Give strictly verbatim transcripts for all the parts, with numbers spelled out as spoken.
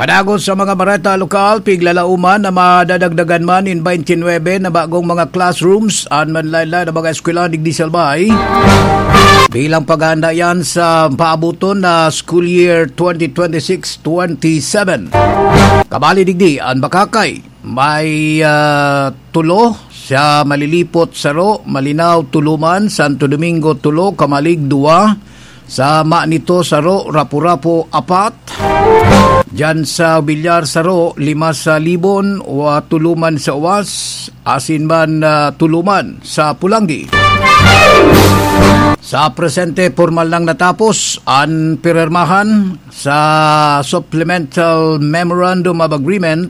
Padagos sa mga bareta lokal, piglalauman na madadagdagan man nin twenty-nine na bagong mga classrooms an manlaen-laen na mga eskwela digdi sa Albay bilang paghahanda yan sa paabuton na school year twenty twenty-six twenty-seven. Kabali digdi an Bacacay, may, ah, tulo, sa Malilipot, saro, Malinao, tulo man, Santo Domingo, tulo, Camalig, duwa, sa Manito, saro, Rapu-Rapu, apat, diyan sa Villar, saro, lima sa Libon, wa, tulo man sa Uwas, asin man, ah, tulo man sa Pulanggi. Sa presente, pormal nang natapos an pirermahan sa Supplemental Memorandum of Agreement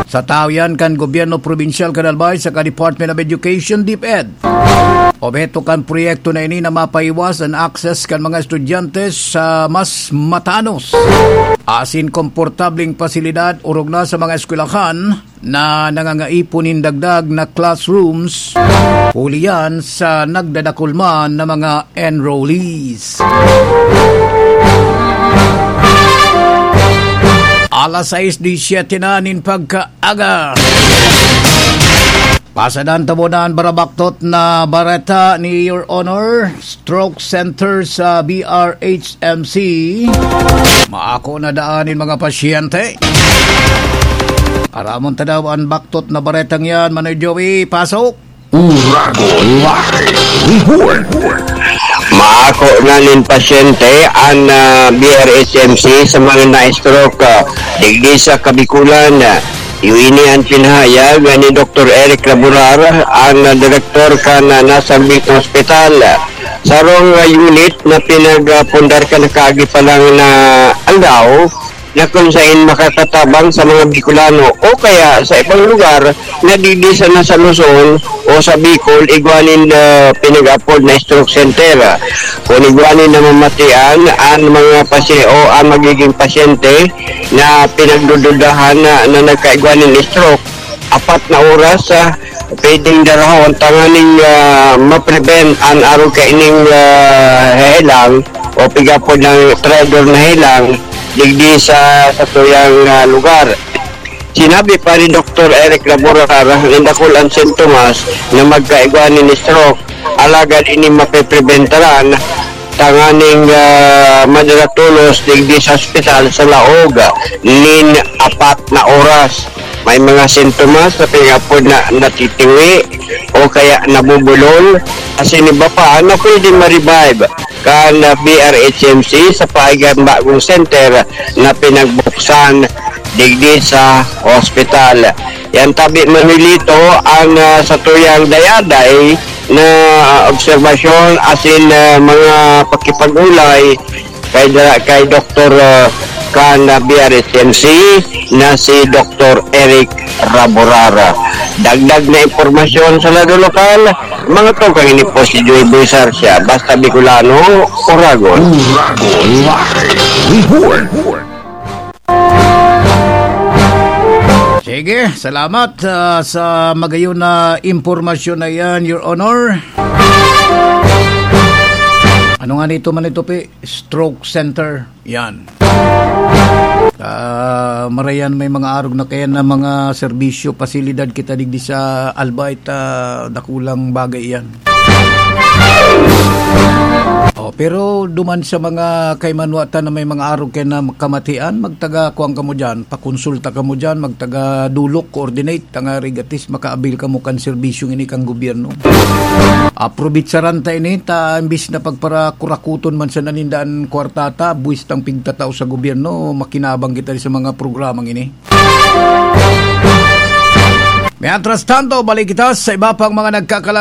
sa tawo yan kan gobyerno probinsyal kan Albay saka Department of Education, DepEd. Obheto kan proyekto na ini na mapaiwas an access kan mga estudyante sa mas matanos asin komportableng pasilidad, orog na sa mga eskwelahan na nangangaipon nin dagdag na classrooms, huli yan sa nagdadakul man na mga enrollees. Alas sais disisiete na nin pagkaaga. Pasadan ta muna an barabaktot na bareta ni Your Honor. Stroke Center sa B R H M C. Maako na daan nin mga pasyente. Aramon ta daw an baktot na baretang yan, Manoy Joey. Pasok! Uragon Live Report. Maako na nin pasyente an, ah, B R H M C sa mga na-stroke, ah, digdi sa Kabikulan. Iyo ini an pinahayag ni Doktor Eric Laborar, an, ah, direktor kan, ah, nasambit na ospital. Sarong, ah, unit na pinagpundar kan nakaagi pa lang na aldaw, na kung sain makakatabang sa mga Bicolano o kaya sa ibang lugar na digdi sana sa Luzon o sa Bicol, igwa nin, ah, pinag-apod na stroke center. Kung igwa nin namamatian, an mga pasye-, o ang magiging pasyente na pinagdududahan na, na nagkaigwa nin stroke, apat na oras, ah, pwedeng darahon tanganing, ah, ma-prevent an arog kaining, ah, helang o pigapod ng traidor na helang digdi sa, sa tuyang, ah, lugar. Sinabi pa ni Doktor Eric Laborar na dakul an sintomas na magkaigwa nin stroke, alagad ini mapepreventaran tanganing, ah, madala tolos digdi sa ospital sa laog nin apat na oras. May mga sintomas na pigapod na natitingwi o kaya nabubulol, asin iba pa na pwede ma-revive kan, ah, B R H M C sa paagi kan bagong center na pinagbuksan digdi sa ospital. Yan tabi, Manolito, ang, ah, satuyang dayaday na obserbasyon asin, ah, mga pakipag-ulay kay da-, kay Doktor, ah, kan, ah, B R H M C na si Doktor Eric Raborara. Dagdag na impormasyon sa lado lokal, mga tugang, ini po si Joy Boy Sarsia, basta Bicolano, Oragon. Oragon Live Report. Sige, salamat, ah, sa magayon na impormasyon na yan, Your Honor. Ano nga nito man ito, Pi? Stroke Center. Yan. Ah, marayan may mga arog na kaya na mga serbisyo, pasilidad kita digdi sa Albay, ta dakulang bagay yan. Oh, pero duman sa mga kaimanwatan na may mga arog kaya na kamatian, magtaga kuwan kamo dyan, pakonsulta kamo dyan, magtaga dulok, coordinate, tangari gatis, makaabil kamo kan serbisyong ini kan gobyerno. Aprobitsaran ta ini, ta imbis na pagparakurakuton man sa nanindaan kwartata, buwis tang pigtatao sa gobyerno, makinabang kita sa mga programang ini. Mientras tanto, balik kita sa iba pang mga nagkakalag-